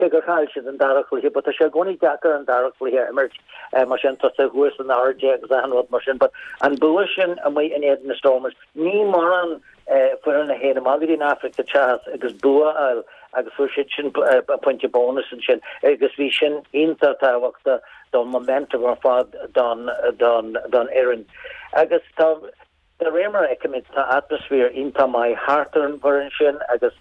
Cé gur chaill siad an dara cluiche, but tá sé i gcónaí deacair an dara cluiche a imirt mar sin, tá tú thuas in airde agus achan rud mar sin, but an bua sin amuigh in éadan na Stormers, ní mórán foireann a théann amach go dtí an Afraic Theas agus bua a fháil agus fuair siad sin pointe bónus ansin agus bhí sin iontach tábhachtach don momentum ar fad don don don fhoireann. Agus tá De réir mar a fheicimid, tá atmaisféar iontach maith thart ar an bhfoireann sin agus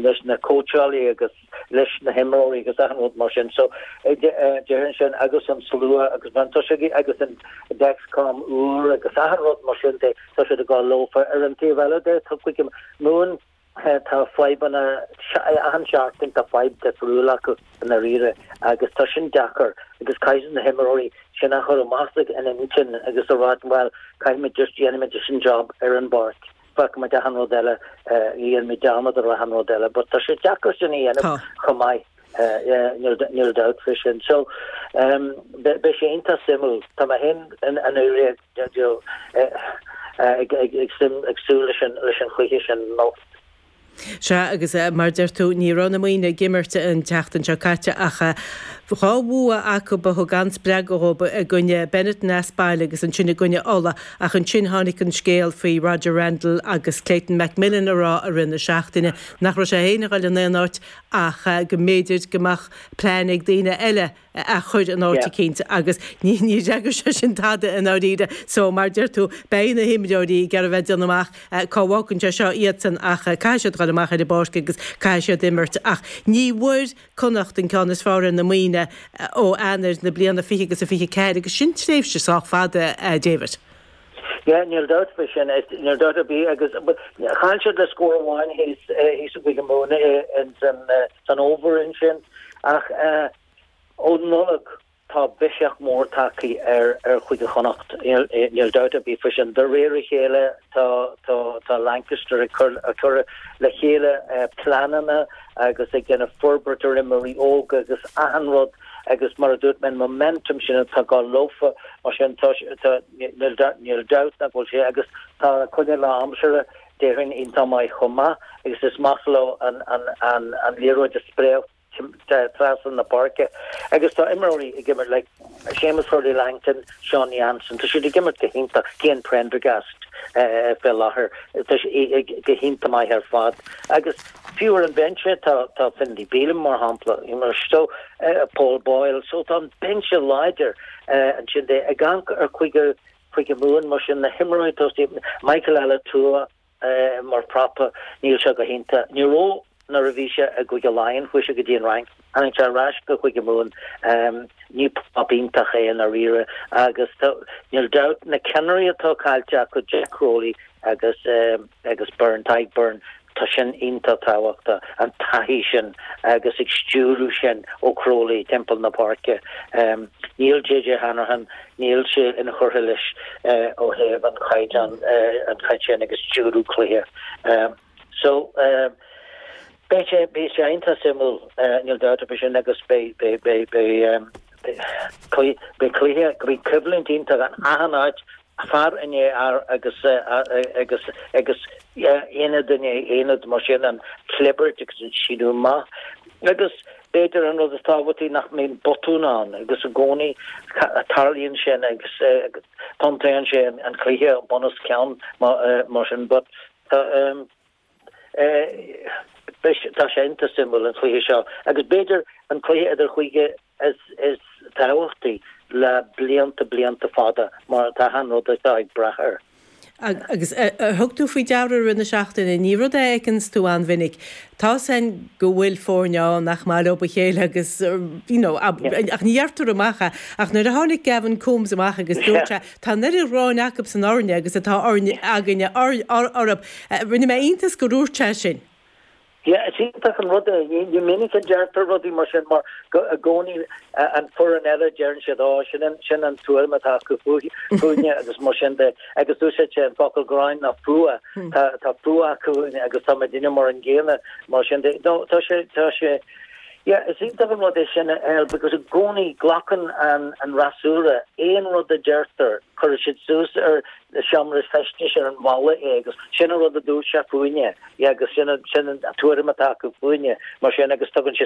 leis na cóitseálaí agus leis na himreoirí agus achan rud mar sin. So, déarfainn sin agus an slua agus mar tá sé agus an Dexcom úr agus achan rud mar sin de, tá siad ag dul leofa. Ar an taobh eile de, tá Cúige Mumhan Tá fadhbanna, achan seachtain tá fadhb difriúil acu i ndáiríre agus tá sin deacair agus caithfidh na himreoirí sin a chur amach ina n-intinn agus a rá bhuel caithfimid just déanfaimid just an job ar an bpáirc, fágfaimid achan rud eile, dhéanfaimid dearmad ar achan rud eile but tá sé deacair sin a dhéanamh chomh maith. Níl dabht faoi sin. So, beidh sé iontach suimiúil. Tá mé féin i ndáiríre ag súil leis an chluiche sin anocht. Sea, agus mar a deir tú, ní raibh na Muimhnigh ag imirt an tseachtain seo caite ach dhá bhua acu a thug an-spreagadh dhóibh i gcoinne Benetton as baile agus ansin i gcoinne Uladh ach ansin tháinig an scéal faoi Roger Randle agus Clayton McMillan a rá i rith na seachtaine nach raibh sé féin ag dul in aon áit ach go mb'fhéidir go mbeadh plean ag daoine eile a chur in áit eicínt agus ní d'fhreagair sé sin tada i ndáiríre. So, mar a deir tú, beidh na himreoirí ag iarraidh a bheith ag déanamh amach cá bhfágann sé seo iadsan ach caithfidh siad dul amach ar an bpáirc agus caithfidh siad imirt. Ach ní bhfuair Connacht an ceann is fearr ar na Muimhnigh ó Eanáir na bliana 20 agus a 24 agus sin tréimhse sách fada, a David. Yeah, níl dabht faoi sin, níl dabht ar bith agus chaill siad le scór amháin thíos thíos i gCúige Mumhan san fhómhar ansin ach ó Nollaig tá biseach mór tagtha ar ar Chúige Chonnacht, níl dabht ar bith faoi sin. De réir a chéile tá tá tá Lancaster ag cur ag cur le chéile pleananna agus ag déanamh forbairt ar imreoirí óga agus achan rud agus mar a dúirt mé an momentum sin atá ag dul leofa mar sin tá tá níl níl dabht nach bhfuil sé agus tá an coinne lá aimsire déarfainn iontach maith chomh maith agus is maith leo an an an an liathróid a spréadh trasna na páirce agus tá imreoirí ag imirt like Séamus Hurley Langton, Sean Jansen, tá siad ag imirt go hiontach, Cian Prendergast fé láthair, tá sé go hiontach maith ar fad agus Fiú ar an bhinse tá tá Finlay Bealham mar shampla, so Paul Boyle, so tá an binse láidir ansin de. Ag amharc ar Chúige Chúige Mumhan mar sin na himreoirí tosaigh, Michael Alaalatoa mar prapa, níl sé go hiontach. Ní raibh nuair a bhí sé i gCúige Laighean, chuaigh sé go dtí an Fhrainc, tháinig sé ar ais go Cúige Mumhan, ní prop iontach é i ndáiríre agus tá, níl dabht, na ceannairí atá caillte acu, Jack Crowley agus agus Byrne, Tadhg Beirne, tá sin iontach tábhachtach, an taithí sin agus ag stiúradh sin ó Crowley timpeall na páirce. Níl JJ Hanrahan, níl sé inchurtha leis ó thaobh an chaighdeán, an chaighdeán sin agus stiúradh cluiche. So, beidh sé, beidh sé iontach suimiúil, níl dabht faoi sin agus beidh, beidh, beidh, beidh, beidh cluiche, beidh coimhlint iontach in achan áit fear i ndiaidh fhear agus agus agus aonad i ndiaidh aonad mar sin an chlibirt agus an síneadh amach agus b'fhéidir an rud is tábhachtaí nach mbíonn botún ann agus i gcónaí tarlaíonn sin agus tiontaíonn sé an cluiche bun os cionn mar sin but tá Tá sé iontach suimiúil an cluiche seo agus b'fhéidir an cluiche idir chúige is tábhachtaí le blianta blianta fada mar tá achan rud atá ag brath air. Agus ar thug tú faoi deara i rith na seachtaine, ní rud é a fheiceanns tú an-mhinic, tá's a'inn go bhfuil foirne ann nach maith leo a chéile agus you know ach ní dheirtear amach é ach nuair a tháinig Gavin Coombes amach agus dúirt sé Tá an oiread gráin acu san orainne agus atá orainne againne orthu. Rinne mé iontas gur dhúirt sé sin. Yeah, is iontach an rud é. Ní minic a deirtear rudaí mar sin mar go i gcónaí an foireann eile deireann siad ó sin an sin an tuairim atá acu fúinne agus mar sin de agus d'úsáid sé an focal gráin ná fuath. Tá tá fuath acu fúinne agus tá muidinne mar an gcéanna mar sin de. No, tá sé tá sé Yeah, is iontach an rud é sin a fháil because i gcónaí glacann an an fhreasúra aon rud a deirtear, cuireann siad suas ar seomra feistis ar an bhalla é agus sin an rud a dúirt sé fúinne, yeah, agus sin an sin an tuairim atá acu fúinne mar sin agus tugann sé.